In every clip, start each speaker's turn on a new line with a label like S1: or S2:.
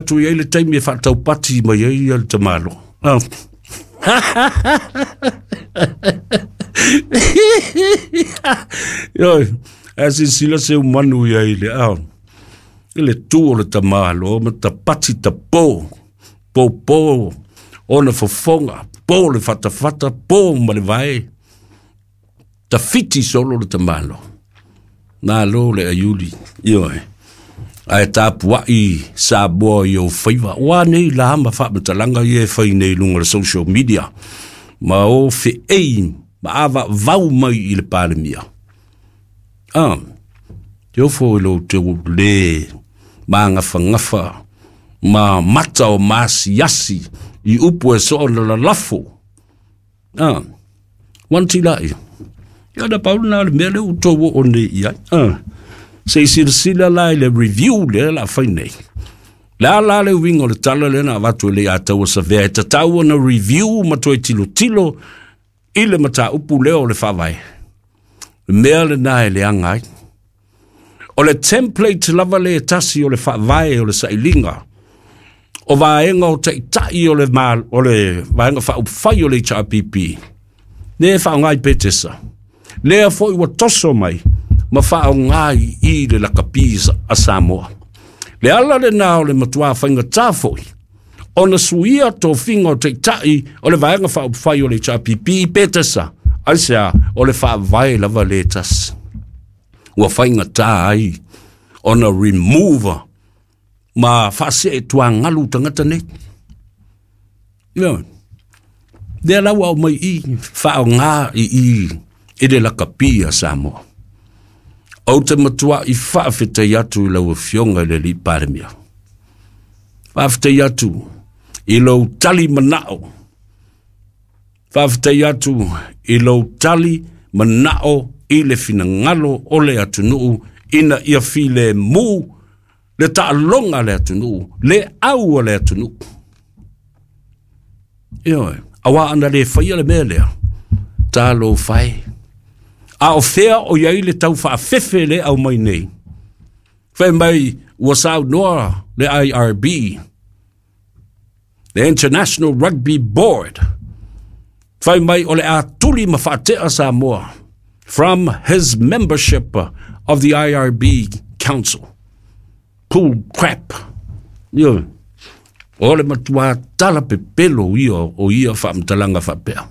S1: Atu i ai le taimi e faataupati mai ai le tamalo. Oh. Ioe, ae silasila se umanu i ai le ao. I le tu o le tamalo ma tapati tapo, popo ona fofoga, po le fatafata, po ma le vae. Tafiti solo le tamalo. Malo le aiuli, ioe. Ae tapuai Samoa i ou faiva. Ua nei la ma faamatalaga ia e fai nei i luga o le social media. Ma o feei ma ava vau mai i le Palemia. Ah, te ofo i lo te le magafagafa ma mata o maasiasi i upu e soo na lalafo. Ah, wan tilai. Ia na pau na le mea le u tou o nei i ai. Ah, se i silasila la i le review lea la fai nei. Le a la le uiga o le tala lea na avatu e le Ataua Savea e tatau ona review ma toe tilotilo i le mataupu lea o le faavae. Le mea lena e leaga ai. O le template lava le tasi o le faavae o le sailiga o vaega o taitai o le, ma, o le vaega faaupufai o le HRPP, le e faaaoga i Petesa, lea foi ua toso mai ma faaaoga i i le lakapi a Samoa. Le ala lena o le matua faigata foi ona suia tofiga o taitai o le vaega faaupufai o le HRPP i Petesa, aisea o le faavae lava le tasi. Ua faigata ai ona remove ma faasee tuagalu tagata nei. Ioe. Lea la ua aumai i faaaoga i i i le lakapi a Samoa. Ou te matua i faafetai atu i lau Afioga i le Alii Palemia. Faafetai atu i lou tali manao. Faafetai atu i lou tali manao i le finagalo o le atunuu ina ia filemu le taaloga a le atunuu, le au a le atunuu. Ioe, auā ana le faia le mea lea, talofa e. A o fea o i ai le tau faafefe le aumai nei? Fai mai ua saunoa le IRB, the International Rugby Board, fai mai o le a tuli ma faatea Samoa from his membership of the IRB Council. Pull crap. Ioe. O le matua tala pepelo ia o ia faamatalaga faapea.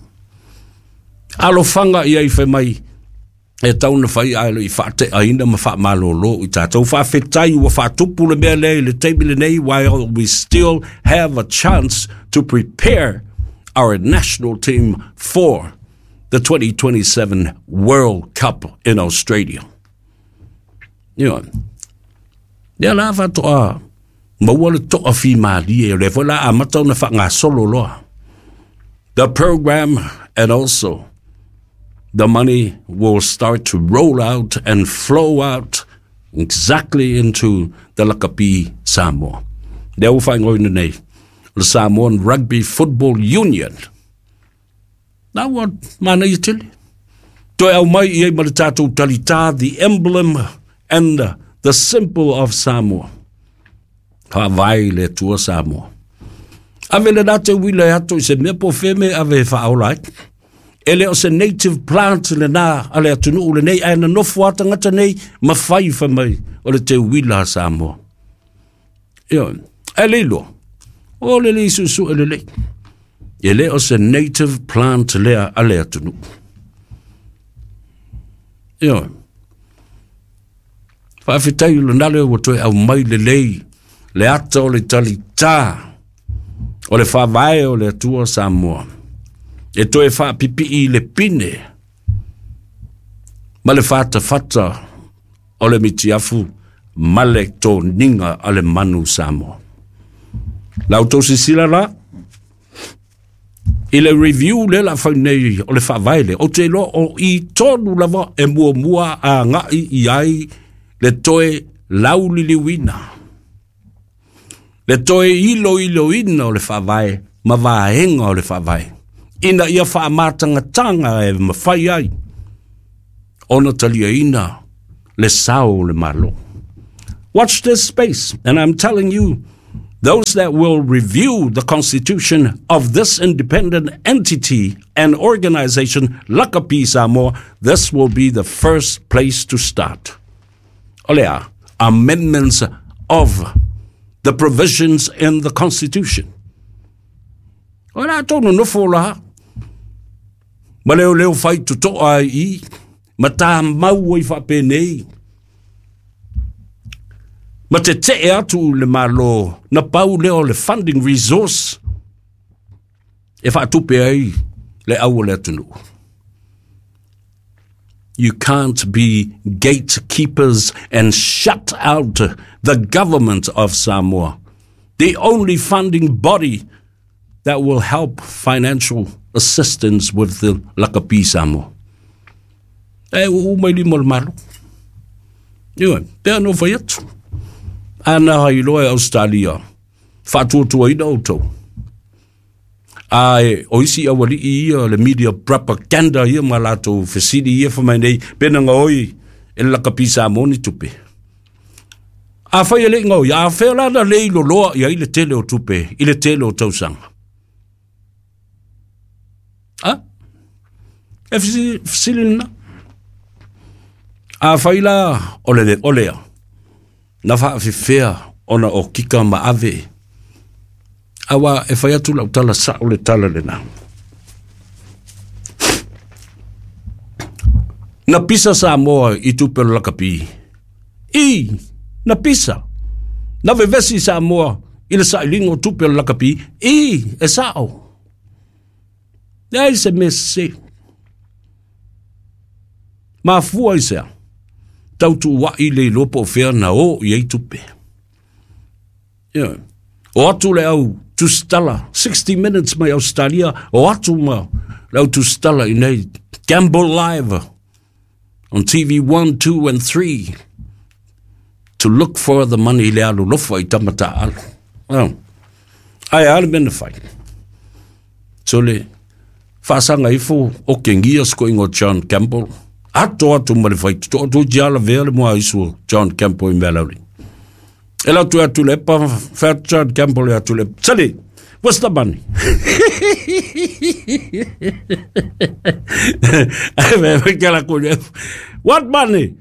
S1: Alofaga ia i fai mai e tau na fai ae le i faateaina ma faamalolo i tatou. Faafetai ua faatupu le mea lea i le taimi lenei while we still have a chance to prepare our national team for the 2027 World Cup in Australia. Ioe. Lea la faatoa maua le toafimalie, o lea foi la amata ona faagasolo loa. The program and also the money will start to roll out and flow out exactly into the lakapi Samoa. Lea ua faaigoaina nei, o le Samoan Rugby Football Union. Na ua manaia tele. Toe aumai i ai ma le tatou talitā, the emblem and the symbol of Samoa. Faavae i le Atua Samoa. Ave le la te uila e ato i se mea po feme ave e faaola ai. E le o se native plant lena a le atunuu lenei, ae na nofo a tagata nei ma fai fai mai o le te uila a Samoa. Ioe, ae le iloa, o le lei suesue lelei. E le o se native plant lea a le atunuu. Ioe. Faafetai i lona lea ua toe aumai lelei le ata o le talitā o le faavae o le Atua Samoa e toe faapipii i le pine ma le fatafata o le mitiafu ma le toniga a le manu Samoa. La outou silasila la i le review lea la fai nei o le faavae lea, ou te iloa o i tonu lava e muamua agai i ai le toe lauliliuina, le toe iloiloina o le faavae ma vaega o le faavae, ina ia faamatagataga e mafai ai ona taliaina le sao o le Malo. Watch this space, and I'm telling you, Those that will review the constitution of this independent entity and organization, Lakapi Samoa, this will be the first place to start. O le a? Amendments of the provisions in the constitution. O le a tou nonofo la, ma leoleo fai totoa ai i, ma tamau ai faapenei, ma tetee atu le Malo, na pau lea o le funding resource e faatupe ai le au o le atunuu. You can't be gatekeepers and shut out the government of Samoa, the only funding body that will help financial assistance with the Lakapi Samoa. E uu mai lima o le Malo. Ioe, pea no fai atu. Ana hai loa e Australia, faatuatuaina outou. Ae o isi aualii ia le media propaganda ia ma latou fesili ia fai mai nei, pe na gaoi e le lakapi Samoa ni tupe. Afai e le i gaoi, a fea la na le iloloa i ai le tele o tupe i le tele o tausaga? A? E fesili lena. Afai la o le o lea, na faafefea ona o kika ma ave. Aua e fai atu lau tala sao le tala lena. Na pisa Samoa i tupe o le lakapi. I, na pisa. Na vevesi Samoa i le sailiga o tupe o le lakapi. I, e sao. Leai se mea sese. Mafua i sea, tautuuai le iloa po o fea na o i ai tupe. Yeah. O atu le au tusitala, 60 minutes mai Australia, o atu ma le au tusitala i nei, Gamble Live on TV 1, 2 and 3 to look for the money le alu lofa i tama taalu. Oh. Ai a le mea na fai. Sole, faasaga ifo o kengia se koiga o John Campbell, ato atu ma le faitotoa, toeitiiti lava lavea le muaisu o John Campbell i Mealauli. E lau atu atu le epa, fai atu John Campbell e atu le epa, Sali, what's the money? What money?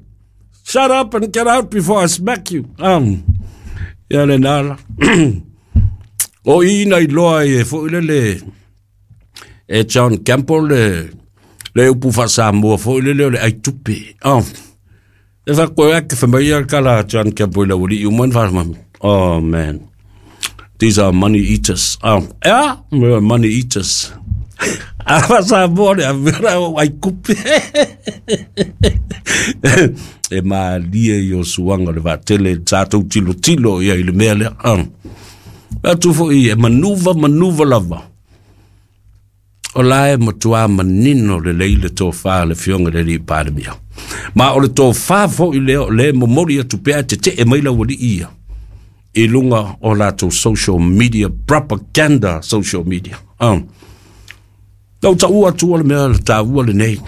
S1: Shut up and get out before I smack you. Um, ia le nala. o i na iloa e foi lele e John Campbell le le upu faasamoa foi lele o le ai tupe. Oh. E fa koe ake whamai a kala John Campbell i lau alii uma na Oh man. These are money eaters. Oh, yeah, money eaters. A Samoa le avera o ai kupe. e malie i o suanga le vaatele sa tou tilotilo ia i le mea lea. Ah. Atu foi e manuva manuva lava. O la e matua manino lelei le tofa a le Afioga i le Alii Palemia. Ma o le tofa foi lea o lea e momoli atu pea e tetee mai le aualii ia i luga o latou social media, propaganda social media. Ah. Lau taua atu le mea le taua lenei.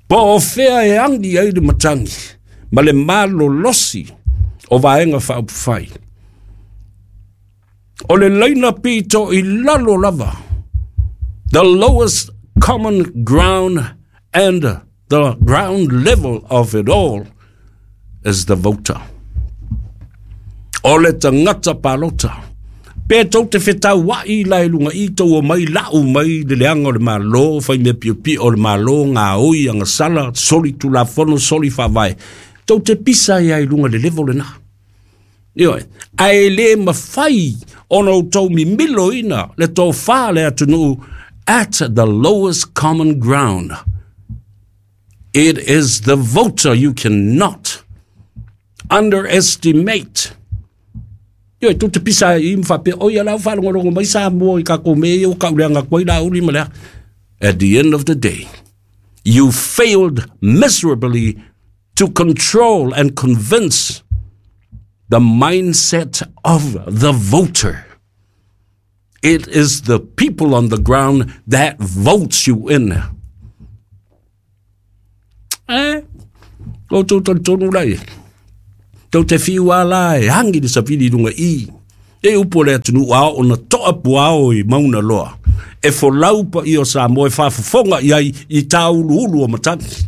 S1: Po o fea e agi ai le matagi ma le malolosi o Vaega Faaupufai. O le laina pito i lalo lava, the lowest common ground and the ground level of it all is the voter. O le tagata palota. Pe tou te fetauai la i luga i tou omai lau mai le leaga o le Malo, fai mea piopio o le Malo, gaoi, agasala, soli tulafono, soli faavae. Tou te pisa ai i luga i le level lena. Ioe, ae le mafai ona outou mimiloina le tofa a le atunuu at the lowest common ground. It is the voter you cannot underestimate. Ioe, tou te pisa ai i ma faapea, oi a la ua faalogologo mai Samoa i kakou mea ia ua kauleaga atu ai Laauli ma le a. At the end of the day, you failed miserably to control and convince the mindset of the voter. It is the people on the ground that votes you in. Eh, o tau talitonu lai. Tau te whiu a la e hangi le sawhiri runga i. E upu o le atunuu a oo na toa puao i Mauna Loa, e folau paia o Samoa e faafofoga i ai i tāuluulu o matagi.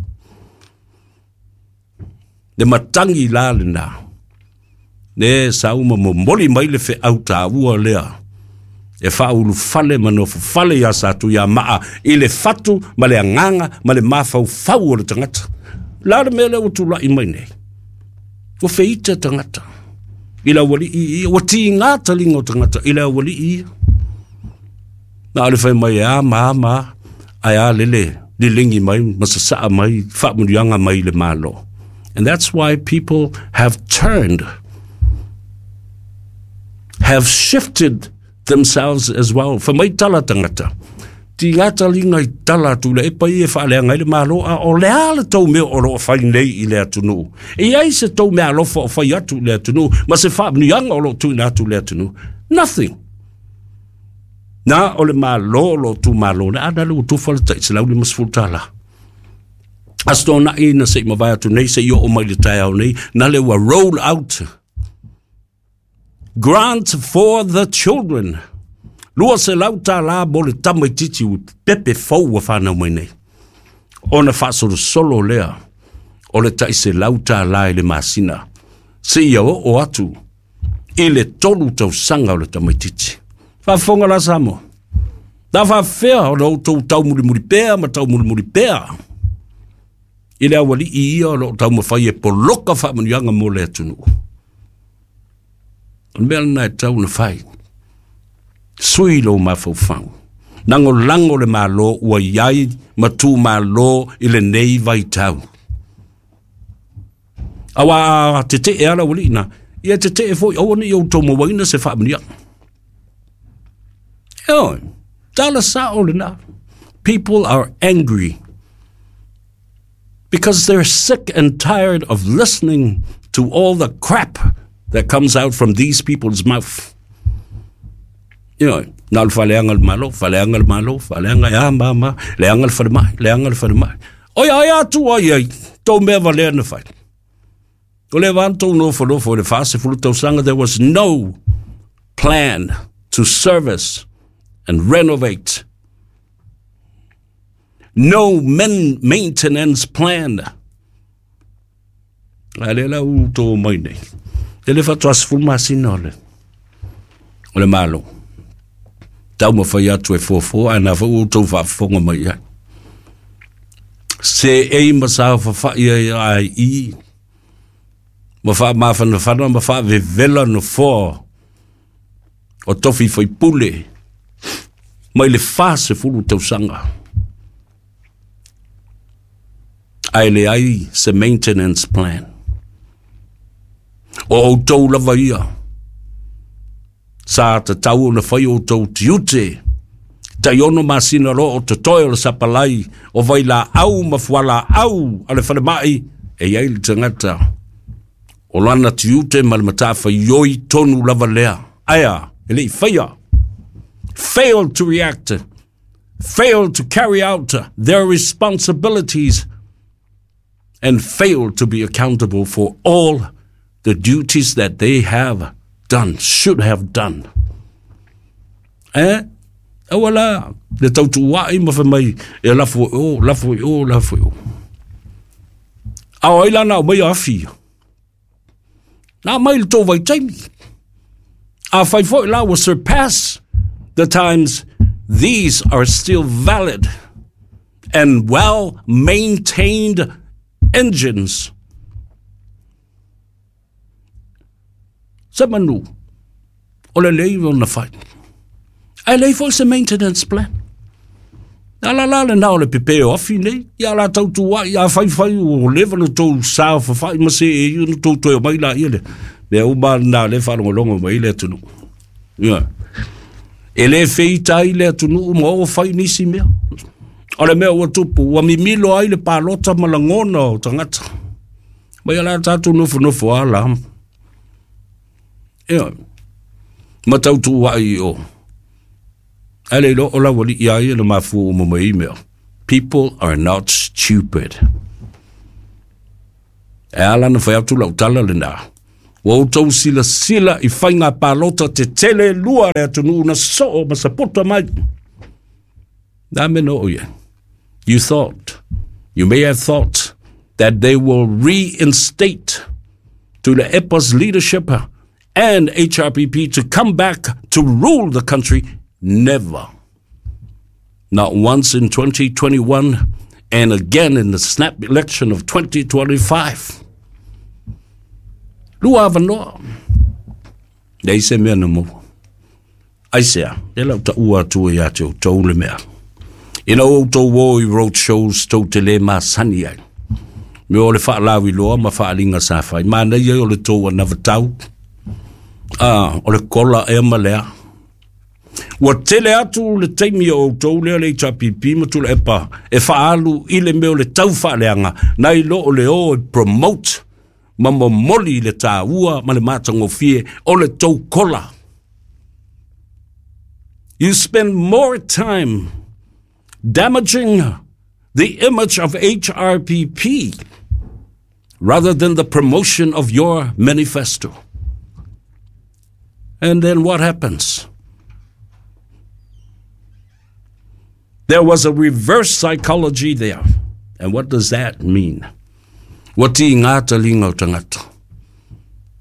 S1: Le matagi la lena, le sau ma momoli mai le feau taua lea e faaulufale ma nofofale iā Satuiamaa i le fatu ma le agaga ma le mafaufau o le tagata. O le a le mea lea ua tulai mai nei? Ua feita tagata i le aualii ia, ua tiga taliga o tagata i le aualii ia. Na o le fai mai e a ma a ma a, ae a lele liligi mai ma sasaa mai faamanuiaga mai le Malo. And that's why people have turned, have shifted themselves as well. Fai mai tala tagata, tiga taliga i tala atu i le epa ia e faaleaga ai le Malo, a o le a le tou mea o lo o fai nei i le atunuu? E i ai se tou meaalofa o fai atu i le atunuu ma se faamanuiaga o lo o tuuina atu i le atunuu? Nothing. Na o le Malo o lo o tumalo nei, a na le ua tufa le tai $150. Aso Toonai na se i mavae atu nei se i oo mai le taeao nei, na le ua roll out grant for the children. $200 mo le tamaitiiti pepe fou ua whanau mai nei. Ona faasolosolo lea o le tai $100 i le masina. Seia oo atu i le 3 tausaga o le tamaitiiti. Faafofoga la Samoa. Na faafefea ona outou taumulimuli pea ma taumulimuli pea i le aualii ia o lo o taumafai e poloka faamanuiaga mo le atunuu. O le mea lena e tatau ona fai. Sui lou mafaufau. Lagolago le Malo ua i ai ma tumalo i lenei vaitau. Aua a tetee lava le aualii na, ia tetee foi aua ne i outou mauaina se faamanuiaga. Ioe, tala sao lena. People are angry because they're sick and tired of listening to all the crap that comes out from these people's mouth. Ioe, na o le faaleaga le Malo, faaleaga le Malo, faaleaga e a ma ma, leaga le falemai, leaga le falemai. Oi ai atu ai ai, tou mea valea na fai. O le va tou nofonofo i le 40 tausaga, there was no plan to service and renovate. No men maintenance plan. A lea la ua outou omai nei. E le faatoa 10 masina o le, o le Malo. Taumafai atu e fuafua, ae na foi ua outou faafofoga mai i ai. Seei ma saofafai ai ai i, ma faamafanafana ma faavevela nofoa o tofi faipule mai le 40 tausaga. Ae leai se maintenance plan. O outou lava ia, sa tatau ona fai outou tiute, tai 6 masina loa o totoe o le sapalai o vailaau ma fualaau a le falemai, e i ai le tagata o lana tiute ma le matafaioi tonu lava lea. Ae a, e le i faia. Failed to react, failed to carry out their responsibilities, and failed to be accountable for all the duties that they have done, should have done. Eh? Aua la, le tautuuai ma fai mai, e lafo i o, lafo i o, lafo i o. A o ai la na aumai afi ia? Na aumai i le tou vaitaimi. A fai foi la ua surpass the times, these are still valid and well maintained engines. Se manu, o le lei ona fai. Ae leai foi se maintenance plan. A la la lena o le pepe o afi nei, ia la tau tuai, a fai fai o leva na tou saofafai ma se e na tou toe omai la ia le. Mea uma lena le faalogologo mai le atunuu. Ia. E le feita ai le atunuu ma o fai nisi mea. O le mea ua tupu, ua mimilo ai le palota ma lagona o tagata. Mai ala tātou nofonofo a la. Ia. Ma tau tuuai i o. Ae le iloa o lau alii a ia na mafua uma mai i mea. People are not stupid. E ala na fai atu lau tala lena. Ua outou silasila i faiga palota tetele e lua a le atunuu na soo ma sapota mai. Na mea na oo i ai. You thought, you may have thought that they will reinstate Tuilaepa's leadership and HRPP to come back to rule the country. Never. Not once in 2021 and again in the snap election of 2025. Lua avanoa. Leai se mea na maua. Aisea, lea lau taua atu ia te outou le mea. Ina ua outou o i road shows tou te le masani ai. Me o le faalauiloa ma faaaliga sa fai. Manaia o le tou anavatau. Ah, o le kola ea ma lea. Ua tele atu le taimi o outou lea le HRPP ma Tuilaepa e faaalu i le mea o le tau faaleaga nai lo o le o e promote ma momoli le taua ma le matagofie o le tou kola. You spend more time damaging the image of HRPP rather than the promotion of your manifesto. And then what happens? There was a reverse psychology there. And what does that mean? Ua tigā taliga o tagata.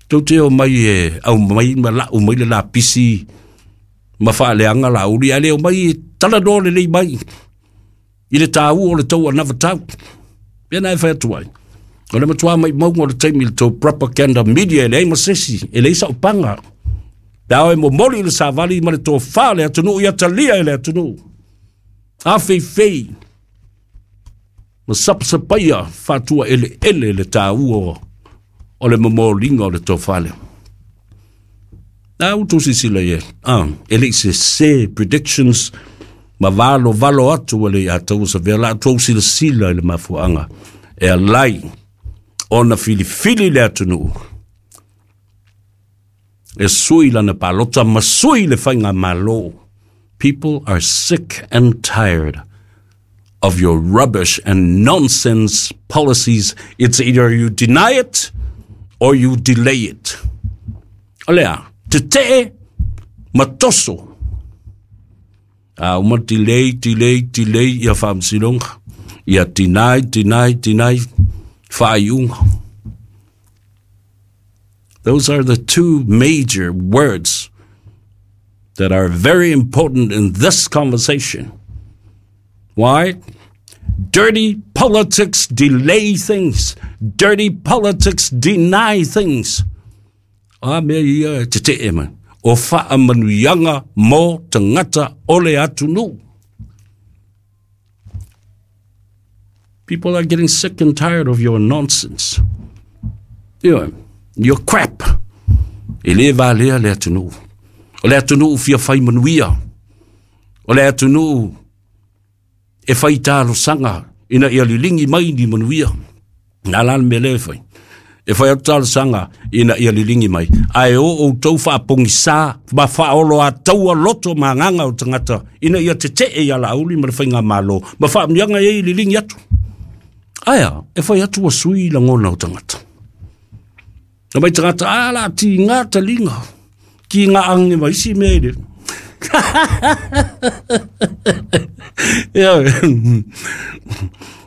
S1: Tou te o mai e aumai ma lau mai le lapisi ma faaleaga lauli, ae le omai e talanoa lelei mai i le taua o le tou anavatau. Pea na e fai atu ai. O le matua maumauga o le taimi i le tou propaganda media e leai ma se isi, e leai sau paga. Pe a e momoli le savali ma le tofa le atunuu ia talia e le atunuu. Afeifei ma sapasapaia faatua eleele le taua o le momoliga o le tofa lea. A ua tou silasila i ai, ah, e le i sese predictions ma valovalo atu e le ia taua savea la tou silasila i le mafuaaga e alai ona filifili le atunuu e sui lana palota ma sui le faigamalo. People are sick and tired of your rubbish and nonsense policies. It's either you deny it or you delay it. O lea, tetee ma toso. A uma delay, delay, delay ia faamasinoga. Ia deny, deny, deny faaiuga. Those are the two major words that are very important in this conversation. Why? Dirty politics delay things. Dirty politics deny things. A mea ia e tetee mai. O faamanuiaga mo tagata o le atunuu. People are getting sick and tired of your nonsense. You know, your crap. E le valea le atunuu. O le atunuu fia fai manuia. O le atunuu e fai talosaga ina ia liligi mai ni manuia. Na la le mea lea e fai. E fai atu talosaga ina ia liligi mai. Ae o outou faapogisā ma faaoloataua loto ma agaga o tagata ina ia tetee ia Laauli ma le Faigamalo ma faamanuiaga e liligi atu. Ae a, e fai atu ua sui lagona o tagata. Na mai tagata, a la tiga taliga, tiga age ma isi mea i le. Ia,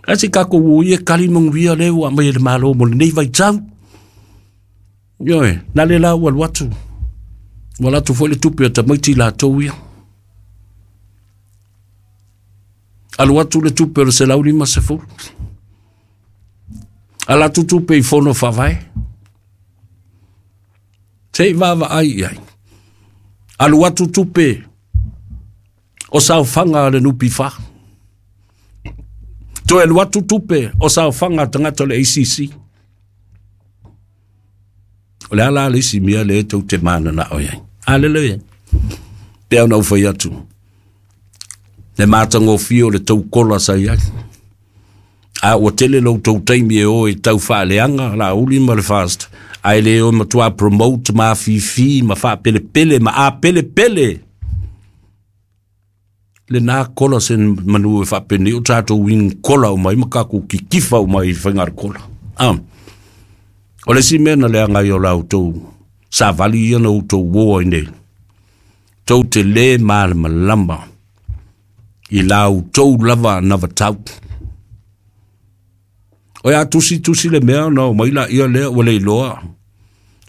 S1: a se kākou o ia kali manuia lea ua aumai e le Malo mo lenei vaitau. Ioe, na le la ua alu atu. Ua alu atu foi le tupe a tamaiti latou ia. Alu atu le tupe o le 150. Ala atu tupe i fono faavae. Se i vaavaai i ai. Alu atu tupe o saofaga a le NPF. Toe alu atu tupe o saofaga a tagata o le ACC. O le a la le isi mea lea tou te mananao i ai? Aleluia. Pei ona ou fai atu, le matagofie o le tou kola sa i ai. A ua tele lo outou taimi e o e tau faaleaga Laauli ma le FAST, ae le o e matua promote ma afifi ma faapelepele ma apelepele lena kola se manu e faapenei o tatou wing kola uma ai ma kakou kikifa uma ai i faiga kola. Ah. O le isi mea na leaga ai o la outou savali ia na outou uo ai nei, tou te lē malamalama i la outou lava anavatau. O ia tusi tusi le mea ona omai laia lea ua le iloa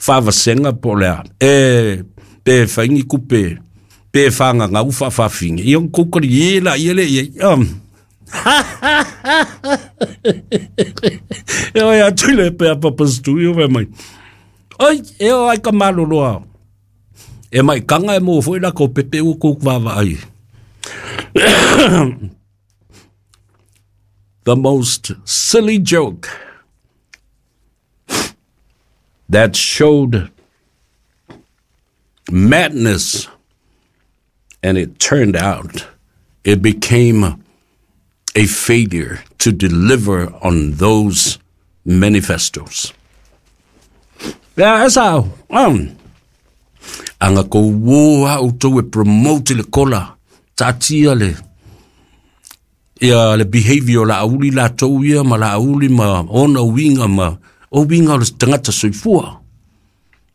S1: faavasega po o le a, e pe fai ni kupe pe fagagau faafafine, ia ona tou talie laia lea i ai. E oi atu i le pea papa studio fai mai, oi, e o ai ka maloloa. E mai kanga e mo foi la ko pepe ua kou vaavaai. The most silly joke that showed madness, and it turned out it became a failure to deliver on those manifestos. Ia, e sao. Anga kou uō a outou e promote le kola, taatia le ia le behavior o Laauli latou ia ma Laauli ma ona uiga ma o uiga o le tagata soifua.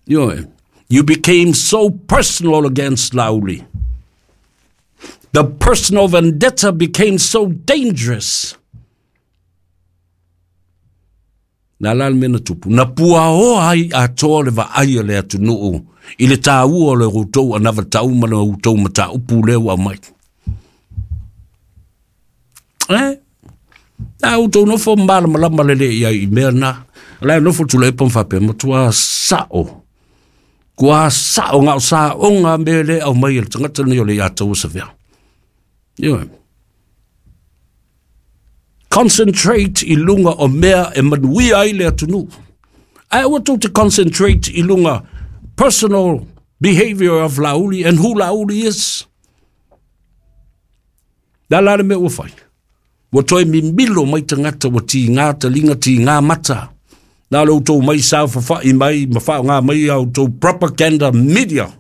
S1: Ioe. You became so personal against Laauli. The personal vendetta became so dangerous. Na la le mea na tupu. Na puaoa ai atoa le vaai a le atunuu i le taua o le outou anavatau ma le outou mataupu lea ua aumai. Eh? A outou nofo malamalama lelei i ai i mea na. O la e nofo Tuilaepa ma faapea, matua sao. Kua sao na o saoga mea lea e aumai e le tagata lenei o le Leiataua Savea. Ioe. Concentrate i luga o mea e manuia ai le atunuu. Ae aua tou te concentrate i luga personal behavior of Laauli and who Laauli is. Le a la le mea ua fai? Ua toe mimilo mai tagata ua tigā taliga tigā mata. Na o le outou mai saofafai mai ma faaaoga mai a outou propaganda media.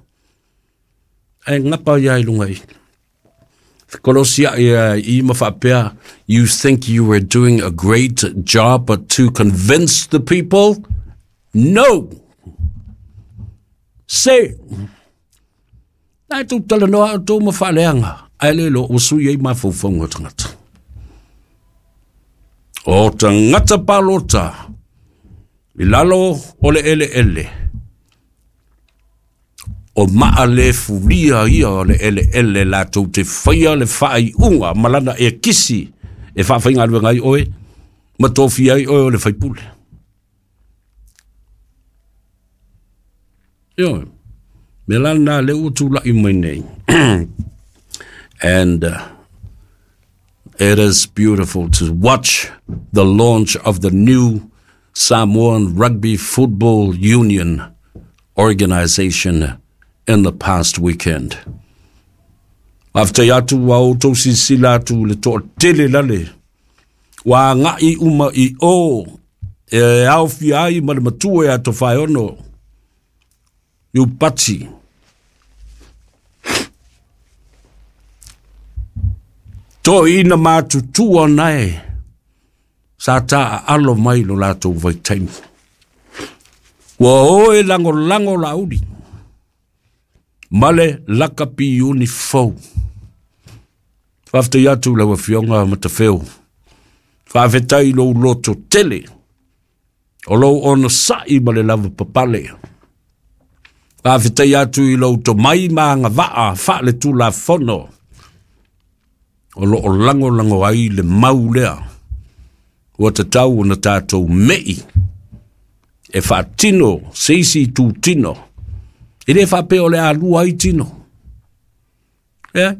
S1: Ae gapa ia i luga i. Fekolosiai i ma faapea, you think you were doing a great job but to convince the people? No! Se! Nā e tou talanoa a outou ma faaleaga, ae le iloa ua sui ai mafaufauga o tagata. O tagata palota i lalo o le eleele, o maa le fulia ia o le eleele latou te faia le faaiuga ma lana ekisi e faafaigaluega ai oe ma tofia ai oe o le faipule. Ioe. Mea la lena lea ua tulai mai nei. And it is beautiful to watch the launch of the new Samoan Rugby Football Union organization in the past weekend. Faafetai atu ua outou silasila atu le toatele lale ua agai uma i o e aofia ai ma le matua ia Tofaeono Iupati. Toeaina matutua nae sa taaalo mai lo latou vaitaimi. Ua o e lagolago Laauli ma le lakapi iuni fou. Faafetai atu i lau Afioga Matafeo. Faafetai i lou loto tele o lou onosai ma le lavapapale. Faafetai atu i lou tomai ma agavaa faaletulafono o lo o lagolago ai le mau lea ua tatau ona tatou mei e faatino se isi itutino. E le faapea o le a lua ai tino. E,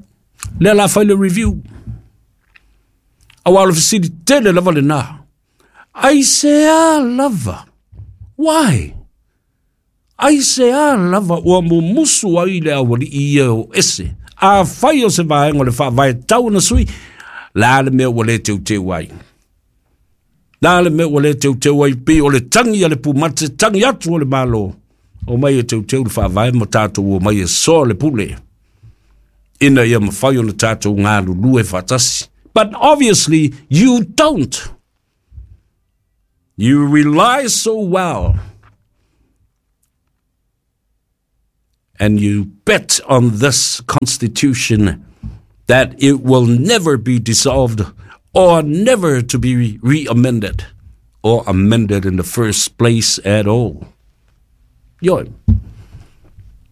S1: lea la fai le review. Aua o le fesili tele lava lena. Aisea lava? Why? Aisea lava ua mumusu ai le aualii ia o ese? Afai o se vaega o le faavae tau ona sui, le a le mea ua le teuteu ai? Le a le mea ua le teuteu ai pei o le tagi a le pumate, tagi atu o le Malo, omai e teuteu le faavae ma tatou omai e soa le pule ina ia mafai ona tatou galulue faatasi. But obviously you don't. You rely so well And you bet on this constitution that it will never be dissolved or never to be re-amended or amended in the first place at all. Ioe.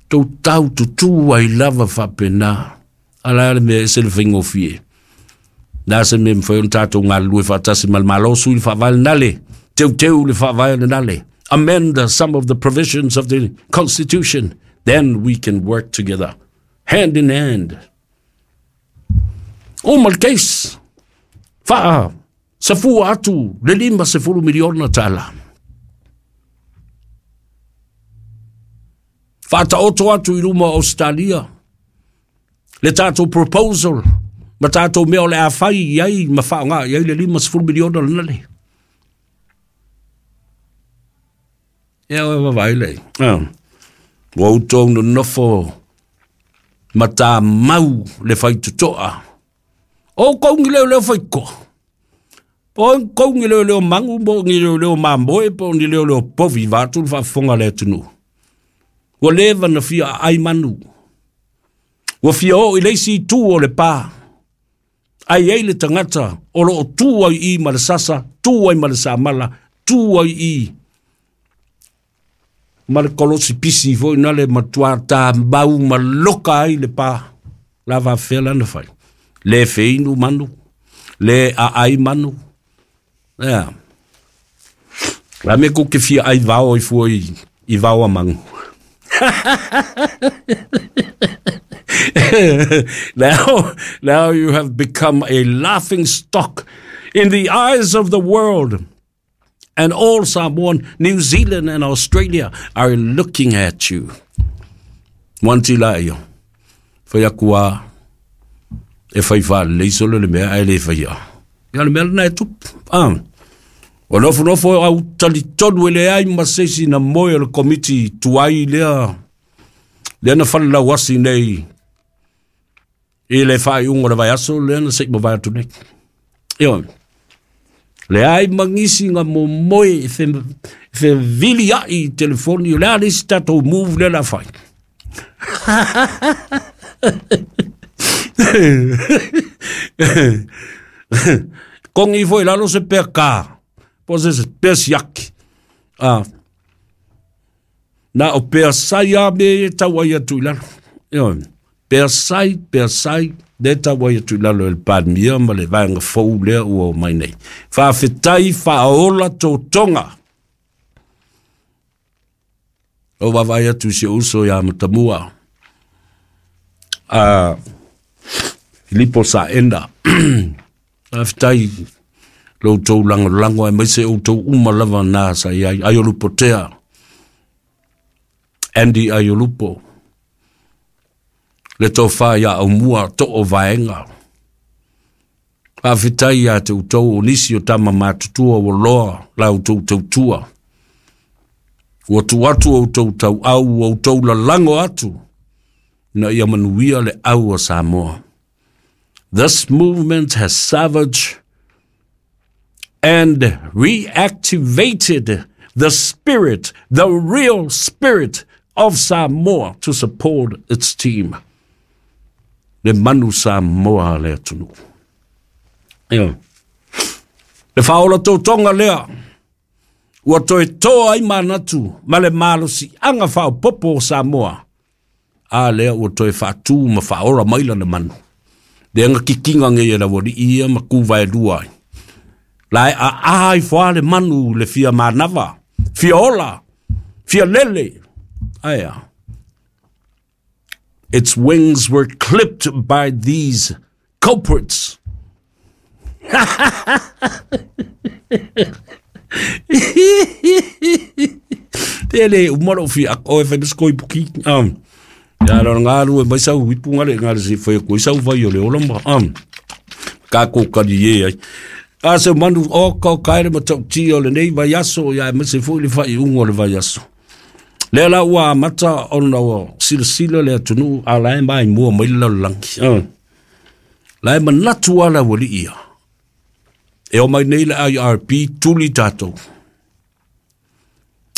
S1: Tou tau tutū ai lava faapena. A o le a le mea e ese le faigofie? O le a se mea e mafai ona tatou galulue faatasi ma le Malo, sui le faavae lena le, teuteu le faavae lena le, amend some of the provisions of the constitution, then we can work together, hand in hand. Uma le case. Faa safua atu le 50 miliona tala. Faataoto atu i luma o Australia le tatou proposal ma tatou mea o le a fai i ai ma faaaoga i ai le 50 miliona lena le. Ia oe vaavaai lea. Ah. Ua outou nonofo ma tamau le faitotoa. O outou ni leoleo faitotoa. Po o outou ni leoleo magu, po o ni leoleo mamoe, po o ni leoleo povi, vaeatu le faafofoga a le atunuu. Ua leva ona fia aai manu. Ua fia oo i le isi itu o le pa. Ai ai le tagata o lo o tu ai i ma le sasa, tu ai ma le samala, tu ai i ma le kolosi pisi foi na le matua tamau ma loka ai le pa. La faafefea la na fai. Le feinu manu, le aai manu. Ea. La me ku ke fia ai vao i fua i vao a mangu. Now you have become a laughing stock in the eyes of the world. And all Samoan, New Zealand and Australia are looking at you. One la ia. Fai aku a e fai whaalelei solo le mea ae le faia. Ia le mea lena e tupu. Ah. O nofonofo au talitonu e leai ma se isi na moe o le komiti tuai lea lea na falelauasi nei i le faaiuga o le vaiaso lea na se i mavae atu nei. Ioe. Leai ma nisi na momoe e feviliai i telefoni, o le a le isi tatou move lea o le a fai. Kongi ifo i lalo se pea kā, po o se pea siaki. Ah, na o pea sai a me e tau ai atu i lalo. Ioe. Pea sai, pea sai, le tau ai atu i lalo e le Palemia ma le vaega fou lea ua omai nei. Faafetai faaola totoga. O vaavaai atu i si ou uso ia Matamua, a Filipo Saenda. Faafetai lo outou lagolago aemaise outou uma lava na sa i ai. Aiolupotea, Andy Aiolupo, le tofa ia Aumua Too Vaega. Faafetai ia te outou o nisi o tama matutua ua loa la outou tautua. Ua tuu atu outou tauau, ua outou lalago atu ina ia manuia le au a Samoa. This movement has savaged and reactivated the spirit, the real spirit of Samoa to support its team. Le manu Samoa le atunuu. Ioe. Le faaola totoga lea ua toe toa ai manatu ma le malosiaga faaopoopo o Samoa, a lea ua toe faatu ma faaola mai lana manu. Lea na kikiga nei e le aualii ia ma ku vaelua ai. La e aa ifo lava le manu i le fia manava, fia ola, fia lele. Ae a? Its wings were clipped by these culprits. Te le uma lou fia ako e fai ma se koipuki. Ia lona galue mai sau ipu ngale ngale se fai ko sau vai o le ola ma. Ka ko kali e ai. A se manu o ka kaere ma tautia o lenei vaiaso ia aemaise foi le faaiuga o le vaiaso. Lea la ua amata ona ua silasila le atunuu a la e maimua mai le lalolagi. La e manatu lava le aualii ia. E omai nei le IRP tuli tatou.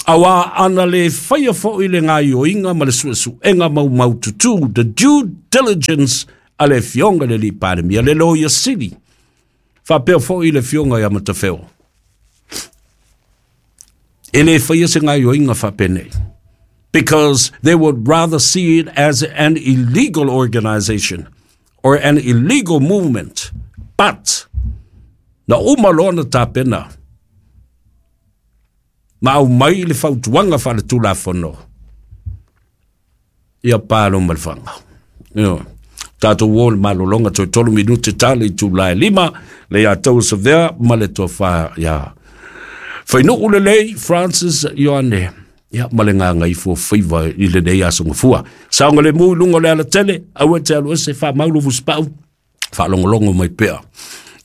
S1: Auā ana lē faia foʻi le gaioiga ma le suʻesuʻega maumaututu, the due diligence, a le afioga i le alii Palemia, le Loia Sili, faapea foʻi le afioga ia Matafeo, e lē faia se gaioiga faapenei, because they would rather see it as an illegal organization or an illegal movement. But na uma loa na tapena ma aumai le fautuaga faaletulafono ia palo ma le faga. Ioe. Tatou o le malologa toe 3 minute tale i tulae 5 le ia tau savea ma le tofa ia Fainuu lelei Francis Ioane ia ma le gagaifo faiva i lenei aso gafua. Saoga le mu i luga o le alatele, aua e te alu ese faamau fusipau, faalogologo mai pea.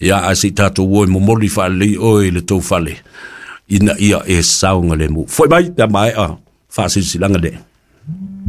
S1: Ia ae se i tatou o e momoli faalelei oe i le tou fale ina ia e saogalemu. Foi mai pe a maea faasilasilaga nei.